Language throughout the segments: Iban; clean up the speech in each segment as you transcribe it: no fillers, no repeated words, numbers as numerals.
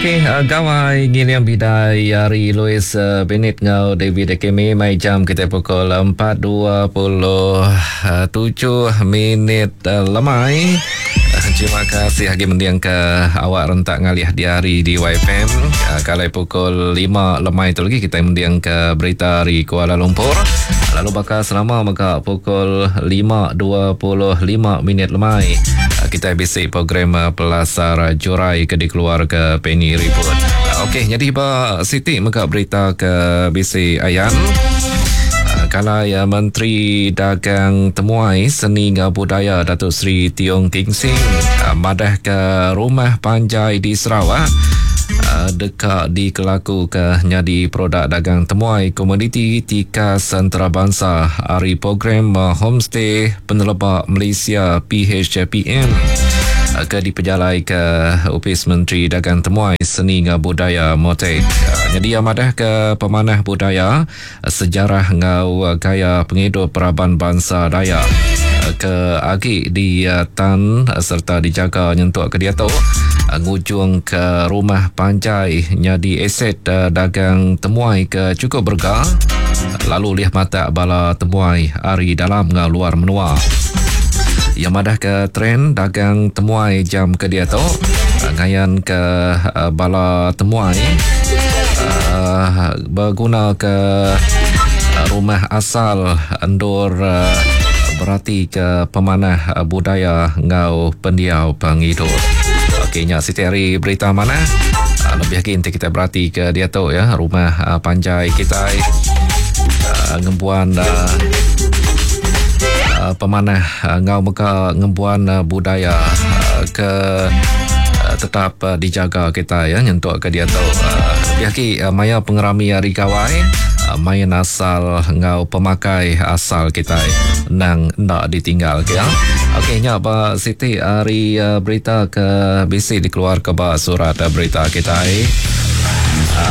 Okey, gawai ngiling bidai ari Louis Benit enggau David Akemi mai jam kita pukul 4.27 minit lemai. Terima kasih agi mending ke awak rentak ngalih di hari di YFM. Kalai pukul 5 lemai tu lagi kita mending ke berita ari Kuala Lumpur. Lalu baka selama mega pukul 5.25 minit lemai kita bisi program Pelasar Jurai ke dikeluar ke Penny Ribut. Okey, jadi ba siti mega berita ke bisi ayan. Kalai Menteri Dagang Temuai Seni enggau Budaya Datuk Seri Tiong King Sing madah ke rumah panjai di Sarawak deka dikelakuka nyadi produk dagang temuai komuniti tikas entarabansa ari program Homestay Peneleba Malaysia PHPM ke dipejalaika Opis Menteri Dagang Temuai Seni enggau Budaya MOTAC. Nyadi iya madahka pemanah budaya, sejarah enggau gaya pengidup raban bansa Dayak ke agi ditan sereta dijaga nyentuk ke diatu ngujungka rumah panjai nyadi aset dagang temuai ke chukup berega lalu ulih matak bala temuai ari dalam enggau luar menua. Iya madahka trend dagang temuai jam ke diatu ngayanka bala temuai begunaka rumah asal endur beratika pemanah budaya enggau pendiau pengidup. Okey nya siti ari berita manah. Lebih agi enti kita beratika diatu ya rumah panjai kitai ngembuan pemanah enggau mega ngembuan budaya ke tetap dijaga kitai ya nyentuk ke diatu. Lebih agi maya pengerami hari gawai main asal enggau pemakai asal kitai endang enda ditinggal ke ya. Okey nya ba siti ari berita ke bisi dikeluarka ba surat berita kitai.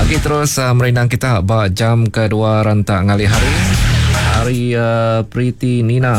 Agi terus merindang kita ba jam kedua rentak ngalih hari. Hari Pretty Nina.